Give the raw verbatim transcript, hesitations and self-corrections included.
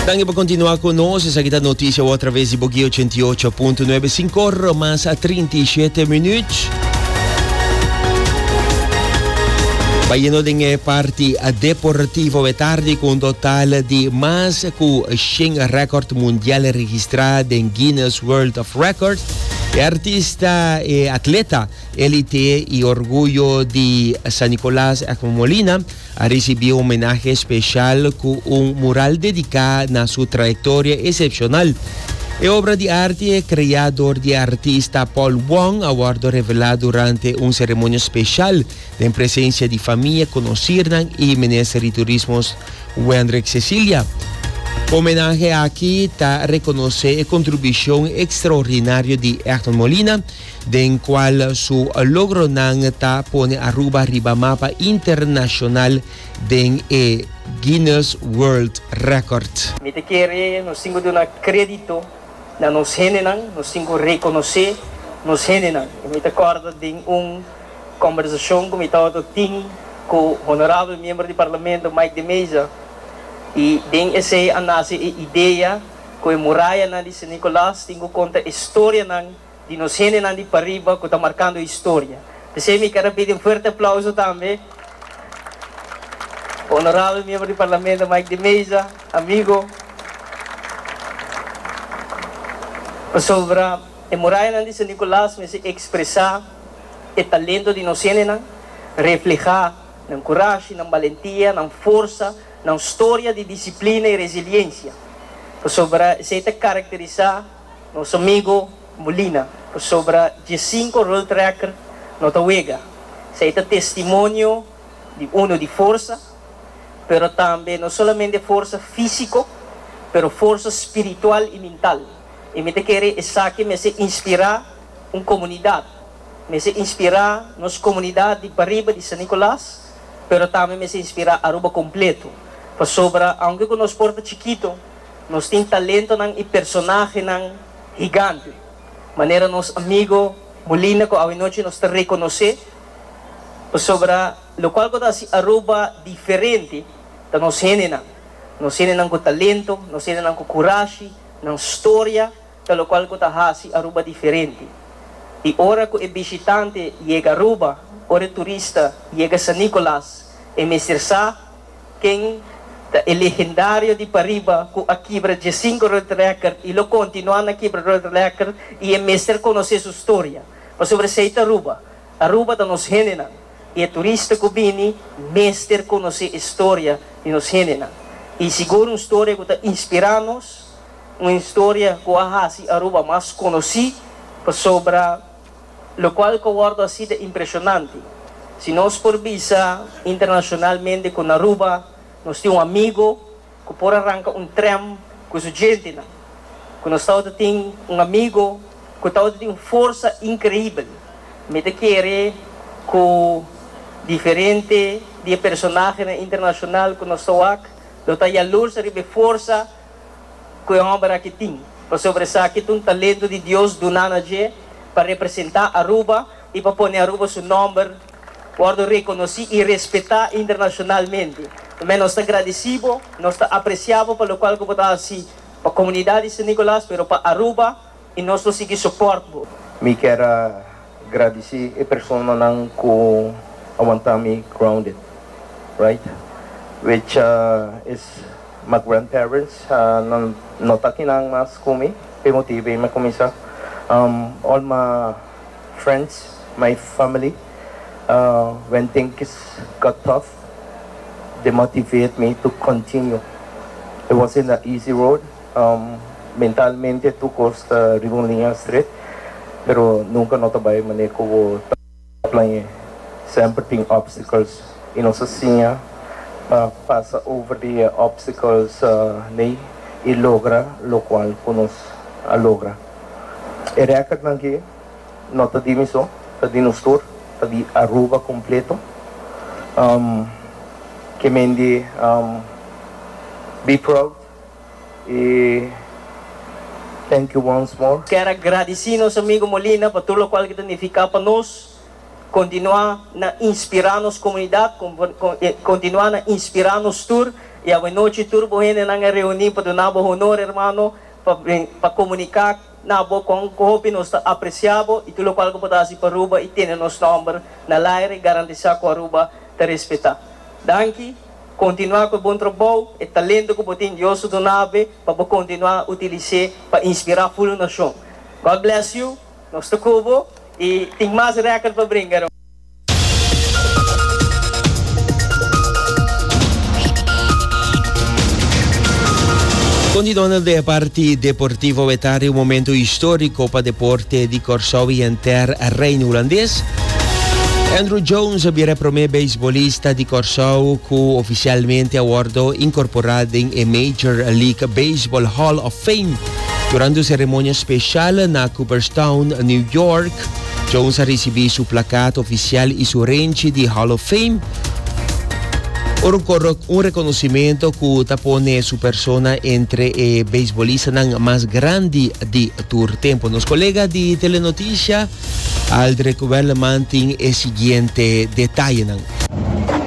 Danki pa continua cu nos. Esaki ta noticia atraves di Bogui ochenta y ocho punto nuebe, cinco or mas trinta y shete minuut. Bayendo den parti deportivo tardi, cu un total di mas cu shen record mundial registra den Guinness World of Records, e artista e atleta elite y orguyo di San Nicolas, Egmond Molina, a ricibi un homenahe special cu un mural dedica na su trayectoria excepcional. E obra di arte, crea door di artista Paul Wong, a wordo revela durante un ceremonia special den presencia di famia, conocirnan y Minister di Turismo Wendrick Cecilia. Homenahe aki ta reconoce e contribucion extraordinario di Egmond Molina, den cual su logronan ta pone Aruba riba mapa internacional den e Guinness World Record. Mi ta kere nos tin cu duna credito na nos hendenan, nos tin cu reconoce nos hendenan. Y mi ta corda di un conversacion cu mi tabatin cu honorabel miembro di Parlamento Mike de Meza y den esey a nace e idea cu e murayanan di San Nicolas tin cu conta historianan di nos hendenan di pariba cu ta marcando historia. Pesey mi kier pidi un fuerte aplauso tambe. Honorabel miembro di Parlamento Mike de Meza, amigo. Sobre e murayanan di San Nicolas, mester expresa e talento di nos hendenan, refleha nan corahe, nan valentia, nan forsa, nan historia di disciplina y resiliencia. Sobre esey ta caracterisa nos amigo Molina, sobre diescinco world record no ta wega. Esey ta testimonio di uno di forsa, pero tambe no solamente forsa fisico, pero forsa spiritual y mental. Y mi ta kere esaki mester inspira un comunidad, mester inspira nos comunidad di pariba di San Nicolas, pero tambe mester inspira Aruba completo. Pasobra, aunke cu nos por ta chikito, nos tin talentonan y personahenan gigante. Manera nos amigo Molina, cu anochi nos ta reconoce, pasobra locual cu Aruba diferente, ta nos hendenan. Nos hendenan cu talento, nos hendenan cu corahe, nan historia, ta locual cu ta haci Aruba diferente. Y ora cu e bishitante yega Aruba, ora e turista yega San Nicolas, e mester sa ken ta e legendario di pariba cu a kibra diescinco world record y lo continua na kibra world record y e mester conoce su historia. Pasobra esey ta Aruba. Aruba ta nos hendenan. Y e turista cu bini mester conoce e historia di nos hendenan. Y sigur un historia cu ta inspira nos, un historia cu a haci Aruba mas conoci, pasobra locual cu wordo asina impresionante. Si nos por bisa internacionalmente cu Aruba, nos tin un amigo cu por ranca un tram cu su djentenan. Cu nos tin un amigo cu tin un forsa increibel. Mi ta kere cu diferente di personahe internacional cu nos ta lo ta jaloers riba forsa cu e homber aki tin. Pasobra esaki un talento di Dios duna na dje pa representa Aruba y pa pone Aruba su nomber wordo reconoci y respeta internacionalmente. Tambe nos ta agradecido, nos ta apreciando pa locual cu ta asina pa e comunidad di San Nicolas, pero pa Aruba y nos ta sigui support. Mi kier gradici e personanan cu a wanta mi grounded, right? Which uh, is my grandparents, uh, nan no ta akinan mas cu mi, pa motibo mi cuminsa. Um, all my friends, my family, uh, when things got tough, they motivate me to continue. It wasn't an easy road. Um, mentalmente tur cos ta riba un liña straight, pero nunca no ta bay manera cu plan. Semper tin obstacles y nos asina uh, pasa over the obstacles uh, nee, y logra locual cu nos a logra. E record aki no ta di mi so, ta di nos tur, ta di Aruba completo. Um, kiermen um, be proud y thank you once more. Kier gradici nos amigo Molina pa tur locual cu e ta significa pa nos. Continua na inspira nos comunidad, continua na inspira nos tur. Y anochi tur bo hendenan a reuni pa duna bo honor, hermano, pa pa comunica na bo con hopi nos ta aprecia bo y tur loke bo ta haci pa Aruba y tene nos nomber na aire, garantisa cu Aruba ta respeta. Danki, continua cu e bon trabou, e talento cu bo tin, Dios a duna bo, pa continua utilisa pa inspira e nacion. God bless you, nos ta cu bo y tin mas record pa bringa. Continuando di parti deportivo, un momento historico pa deporte di Corsou y henter Reino Hulandes. Andruw Jones a bira e prome beisbolista di Corsou cu oficialmente a wordo incorpora den Major League Baseball Hall of Fame. Durante un ceremonia special na Cooperstown, New York, Jones a ricibi su placa oficial y su renchi di Hall of Fame. Un reconocimento cu ta pone su persona entre e beisbolistanan mas grandi di tur tempo. Nos colega di Telenoticia, Aldrich Welleman, tin e siguiente detaye.